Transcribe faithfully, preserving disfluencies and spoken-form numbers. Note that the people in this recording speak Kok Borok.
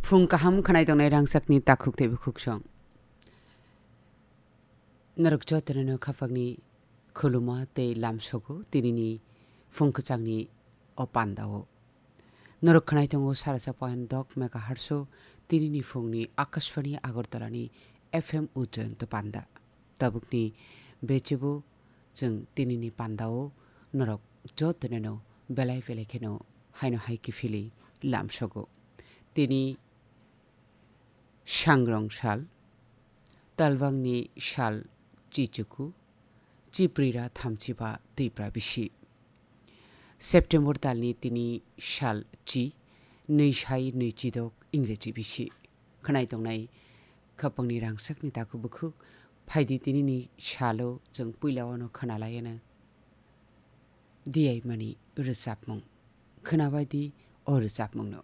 Phung kaham khwnai tongnai rangchakni takhuk tei bukhuk song. Norok jotono no khapangni khuluma tei lamsogo tinini phung kwchangni o pandao. Norok khwnai tongo sarasa point dok megahertz o tinini phungni Akashvani Agartala ni F M Ujjayan to panda. Tabukni bechebo chwng tinini pandao norok jotono no belai belai kheno haino hai kiphilwi lamsogo. Tini Sangrong sal, talbangni sal chichuku, chiprira thamchiba twipra bisi. September talni tini sal chi, nwi sai nwi chidok Ingreji bisi. Khwnai tongnai khapangni rangchakni takhuk bukhuk, phaidi tinini salo chwng puila wano khwnalaiyano. Diyaimani rwchapmung. Khwnabaidi o rwchapmungno.